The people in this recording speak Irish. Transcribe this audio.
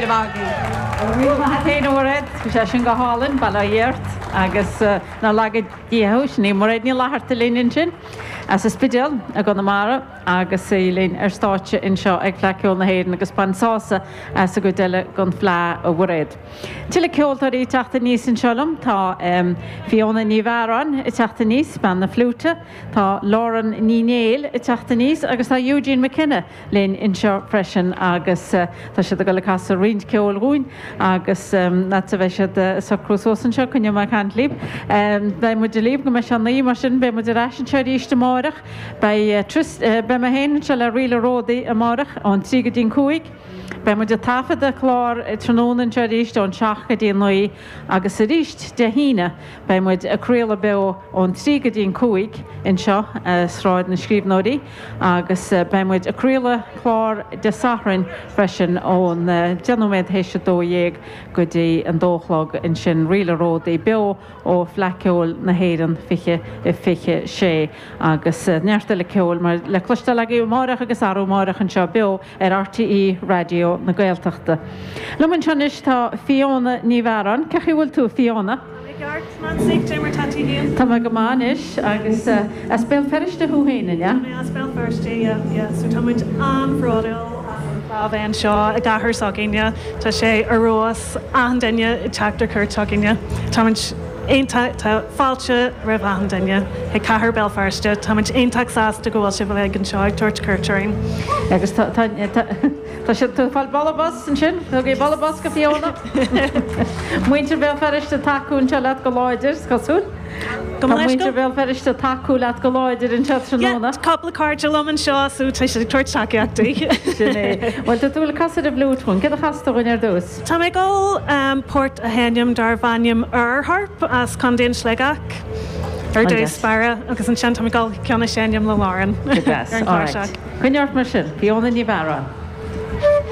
raibh míle maith agaibh. Go raibh míle maith a't fhéin a Mhairéad, bhí sé sin go hálainn, Bail ó Dhia ort agus nár laga Dia thú, sin í Mairéad Ní Fhlatharta linn ansin as an Spidéal i gConamara agus í linn ar stáitse anseo ag Fleadh Cheoil na hÉireann agus bain sásamh as an gcuid eile den Fhleadh a Mhairéad. Tuilleadh ceoltóirí ag teacht aníos anseo liom, tá Fiona Ní Mhearáin ag teacht aníos, bean na fliúite, tá Lauren Ní Néill ag teacht aníos agus tá Eugene McKenna linn anseo freisin agus tá siad ag dul ag casadh roinnt ceoil dhúinn agus nuair a bheidh siad ag socrú suas anseo coinneoidh mé ag caint libh. Beidh muid libh go mbeidh sé 9 mar sin beidh muid ar ais anseo arís amáireach. Beidh Tris, beidh mé féin anseo le Ríle Ródaí amáireach ón 3 go dtí an 5. Beidh muid ag taifeadadh clár tráthnóna anseo arís ón 7 go dtí an 9 agus arís Dé hAoine beidh muid ag craoladh beo ón 3 go dtí an 5 anseo i Sráid na Scríbhneoirí agus beidh muid ag craoladh clár Dé Sathairn freisin ón 10 nóiméad théis a 12 go dtí an 2 a chlog ansin, Ríle Ródaí beo ó Fleadh Ceoil na hÉireann 2026 agus neart eile ceoil mar le cloisteáil agaibh amáireach agus arú amáireach anseo beo ar RTÉ Raidió na Gaeltachta. Liom anseo anois tá Fiona Ní Mhearáin. Cén chaoi a bhfuil tú, a Fiona? Tá mé ceart, Nancy. Cad é mar tá tú féin? Tá mé go maith anois. Agus as Béal Feirste thú féin, an ea? Tá mé as Béal Feirste, yeah, yeah. So tá muid an-bhródúil as an Fleadh a bheith anseo i gcathair s'againne. Tá sé ar fheabhas, achan duine ag teacht ar cuairt chugainne. Tá muid iontach, tá fáilte roimh achan duine chuig cathair Béal Feirste. Tá muid iontach sásta go bhfuil sibh uilig anseo ag tabhairt cuairt orainn. Agus tá, tá, tá, tá siad, tú ag fáil bualadh bos ansin, tugaigí bualadh bos go Fiona. Muintir Bhéal Feirste ag tacú anseo leat go láidir, is cosúil. Tá muintir Bhéal Feirste ag tacú leat go láidir anseo tráthnóna. Yeah, cúpla cairde liom anseo so tá siad ag tabhairt tacaíocht di. Sin é. Bhuel, tá tú ag casadh ar an bhfliúit dhúinn. Céard a chasfaidh tú dhúinn ar dtús? Tá mé ag dul port a sheinm darb ainm Air Harp as Contae an Sligeach ar dtús báire agus ansin tá mé ag dul ceann a sheinm le Lauren Go deas. ar an Alright. chláirseach. Coinnigh ort mar sin. Fiona Ní Mhearáin.